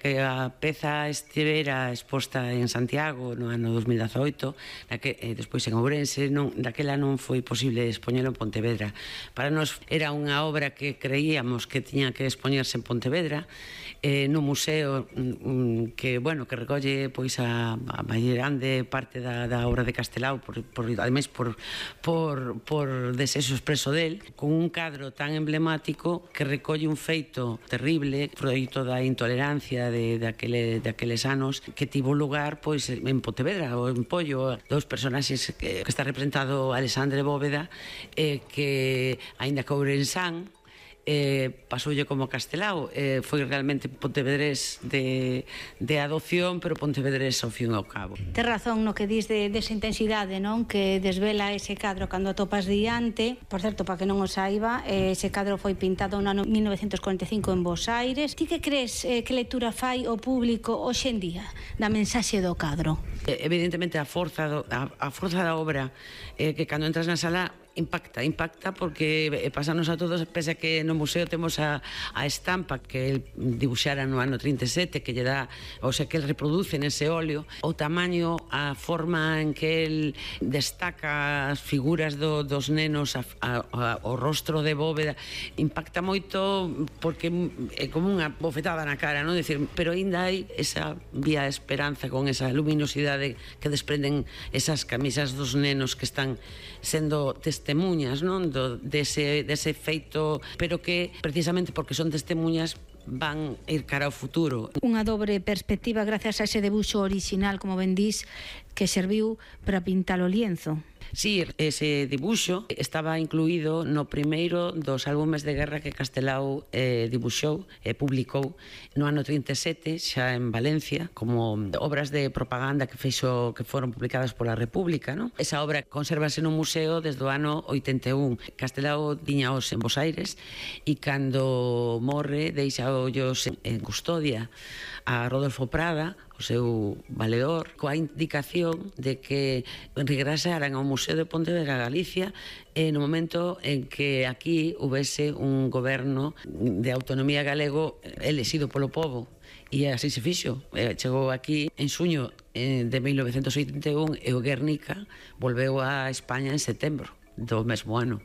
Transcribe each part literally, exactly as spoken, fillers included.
que a peza estivera exposta en Santiago no ano dos mil dezaoito, que, e despois en Ourense, non, daquela non foi posible expoñelo en Pontevedra. Para nós era unha obra que creíamos que tiña que expoñerse en Pontevedra, eh, no museo mm, que, bueno, que recolle pois a, a maior grande parte da, da obra de Castelao, por, por, ademais por, por, por desexo expreso del, con un cadro tan emblemático que recolle un feito terrible, froito da intolerancia de, de, aquele, de aqueles anos, que tivo lugar pois en Pontevedra ou en Pollo, dos personaxes que, que está representado Alexandre Bóveda, eh, que aínda que ourensán, eh, pasoulle como Castelao, eh, foi realmente pontevedrés de, de adopción, pero pontevedrés ao fin e ao cabo. Tes razón no que dis de, desa intensidade, non? Que desvela ese cadro cando atopas diante. Por certo, para que non o saiba, ese cadro foi pintado no ano mil novecentos cuarenta e cinco en Bos Aires. Ti que crees eh, que lectura fai o público hoxe en día da mensaxe do cadro? Evidentemente a forza, do, a, a forza da obra, eh, que cando entras na sala impacta, impacta porque pasanos a todos, pese a que no museo temos a, a estampa que el dibuxara no ano trinta e sete, que lle dá, o sea, que el reproduce nese óleo, o tamaño, a forma en que el destaca as figuras do, dos nenos, a, a, a, o rostro de Bóveda, impacta moito porque é como unha bofetada na cara, non? Decir, pero ainda hai esa vía de esperanza con esa luminosidade que desprenden esas camisas dos nenos que están sendo testemunhas, non, do, dese, dese feito, pero que precisamente porque son testemunhas van ir cara ao futuro. Unha dobre perspectiva gracias a ese debuxo orixinal, como ben dís, que serviu para pintar o lienzo. Sí, ese dibuxo estaba incluído no primeiro dos álbumes de guerra que Castelao eh, dibuxou e publicou no ano trinta e sete, xa en Valencia, como obras de propaganda que fixo, que foron publicadas pola República, non? Esa obra consérvase no museo desde o ano oitenta e un. Castelao tiñaos en Bos Aires e cando morre deixa ollos en, en custodia a Rodolfo Prada, o seu valedor, coa indicación de que regresaran ao Museo de Pontevedra, Galicia, e no momento en que aquí houvese un goberno de autonomía galego elexido polo povo. E así se fixo. Chegou aquí en xuño de mil novecentos oitenta e un e o Guernica volveu a España en setembro do mesmo ano.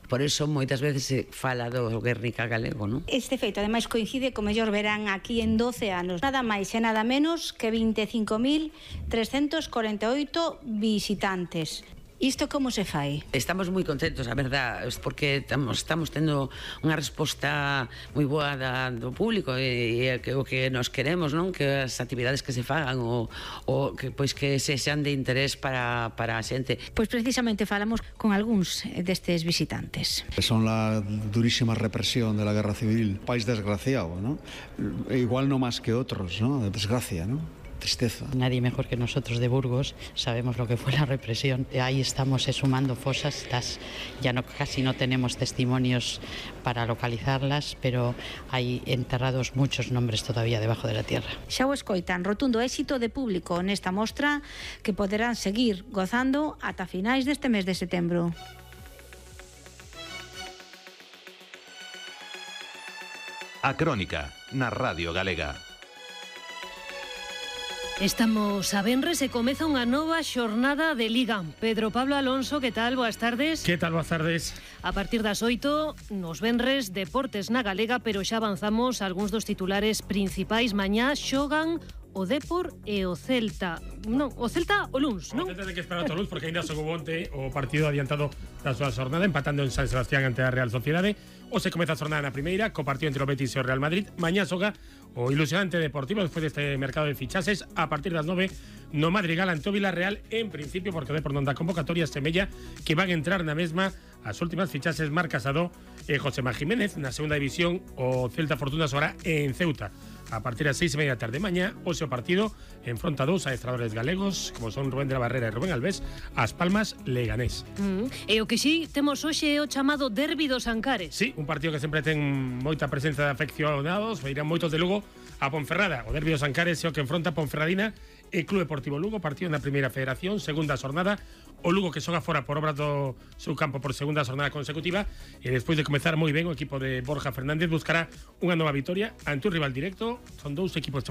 Por iso moitas veces se fala do Guernica galego, non? Este feito, ademais, coincide co mellor verán aquí en doce anos. Nada máis e nada menos que vinte e cinco mil trescentos corenta e oito visitantes. Isto como se fai? Estamos moi contentos, a verdad, porque estamos, estamos tendo unha resposta moi boa da, do público e, e que, o que nos queremos, non? Que as actividades que se fagan o, o que, pois que se sean de interés para, para a xente. Pois precisamente falamos con algúns destes visitantes. Son la durísima represión de la guerra civil, país desgraciado, ¿no? Igual no más que otros, ¿no? De desgracia, ¿no? Tristeza. Nadie mejor que nosotros de Burgos sabemos lo que fue la represión. Ahí estamos sumando fosas, las, ya no, casi no tenemos testimonios para localizarlas, pero hay enterrados muchos nombres todavía debajo de la tierra. Xa o escoitan, rotundo éxito de público nesta mostra que poderán seguir gozando ata finais deste mes de setembro. A Crónica, na Radio Galega. Estamos a venres e comeza unha nova xornada de Liga. Pedro Pablo Alonso, que tal? Boas tardes. Que tal? Boas tardes. A partir das oito, nos venres, deportes na Galega, pero xa avanzamos algúns dos titulares principais. Mañá xogan o Depor e o Celta. Non, o Celta o luns, non? O Celta ten que esperar o luns porque ainda xogou onte o partido adiantado da súa xornada, empatando en San Sebastián ante a Real Sociedade. Hoxe comeza a xornada na primeira, co partido entre o Betis e o Real Madrid. Mañá xoga o ilusionante Deportivo despois deste mercado de fichaxes a partir das nove no Madrigal ante o Villarreal, en principio porque o Depor non dá convocatoria, semella que van a entrar na mesma as últimas fichaxes Marc Casado e Josema Jiménez. Na segunda división o Celta Fortuna xogará en Ceuta a partir das seis e media da tarde mañá. Hoxe o partido enfronta dous adestradores galegos como son Rubén de la Barrera e Rubén Alves, As Palmas Leganés. Mm. E o que si temos hoxe é o chamado Derbi dos Ancares. Sí, un partido que sempre ten moita presenza de afeccionados, irán moitos de Lugo a Ponferrada. O Derbi dos Ancares é o que enfronta Ponferradina e Club Deportivo Lugo, partido na primeira federación, segunda xornada. O Lugo que xoga fora por obra do seu campo por segunda xornada consecutiva e despois de comezar moi ben o equipo de Borja Fernández buscará unha nova vitoria ante un rival directo. Son dous equipos chamados